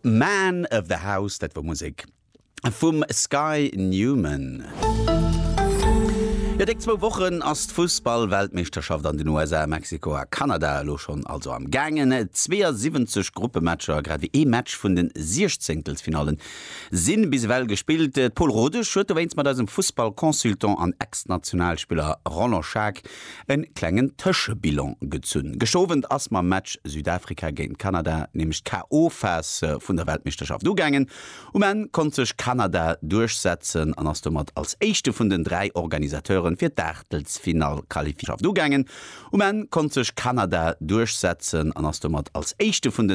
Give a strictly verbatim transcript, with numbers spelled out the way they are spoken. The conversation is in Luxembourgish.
Man of the House, dat wor Musek vum Sky Newman. Jo, déck zwou Wochen ass d'Fussball-Weltmeeschterschaft an den U S A, Mexiko a Kanada elo schonn also am gaangen. zweeënsiwwenzeg Gruppematcher, grad wéi ee Match vun den Siechzéngtelsfinallen sinn bis ewell gespillt. D'Paul Rodesch huet dowéinst mat eisem Fussball-Consultant an Ex-Nationalspiller Roland Schaack e klengen Tëschebilan gezunn. Gëschter Owend ass mam Match Südafrika géint Kanada nämlech d'K O. Phas vun der Weltmeeschterschaft ugaangen. Um Enn konnt sech Kanada duerchsetzen an ass domat als éischte vun den dräi Organisateure fir d'Aachtelsfinall qualifiéiert. Ugaangen. Um Enn konnt sech Kanada duerchsetzen an ass domat als éischte vun den